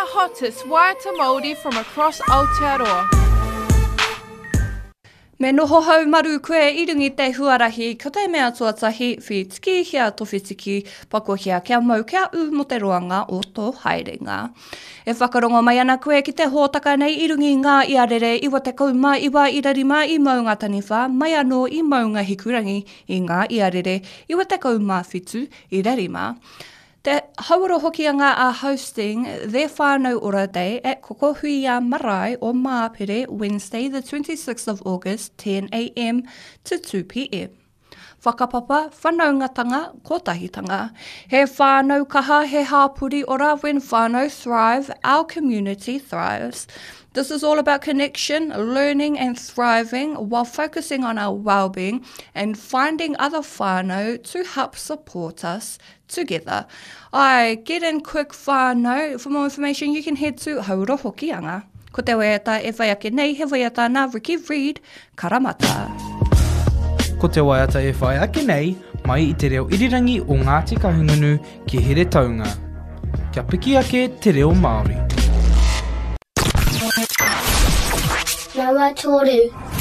the hottest waiata Māori from across Aotearoa. Me noho haumaru koe i runga i te huarahi, ko te mea tuatahi, whitikihia to whitiki, pakohia kia mau kia ū mo te roanga o tō haerenga. E whakarongo mai ana koe ki te hōtaka nei i runga i ngā iarere 99 ira rima i Maungataniwha, mai anō i Maunga Hikurangi i ngā iarere 97 ira rima. Te Hauora Hokianga are hosting their Whānau Ora Day at Kokohuia Marae o Māpere Wednesday the 26th of August 10am to 2pm. Whakapapa, whanaungatanga, kotahitanga. He whānau kaha, he hāpori ora when whānau thrive, our community thrives. This is all about connection, learning and thriving while focusing on our well-being and finding other whānau to help support us together. Ai, get in quick whānau. For more information, you can head to Haura Hokianga. Ko te waiata e whai ake nei, he waiata nā Ricky Reid, Karamata. Ko te waiata e whai ake nei, mai i te reo irirangi o Ngāti Kahungunu ki Heretaunga. Kia piki ake te reo Māori. Nama toru.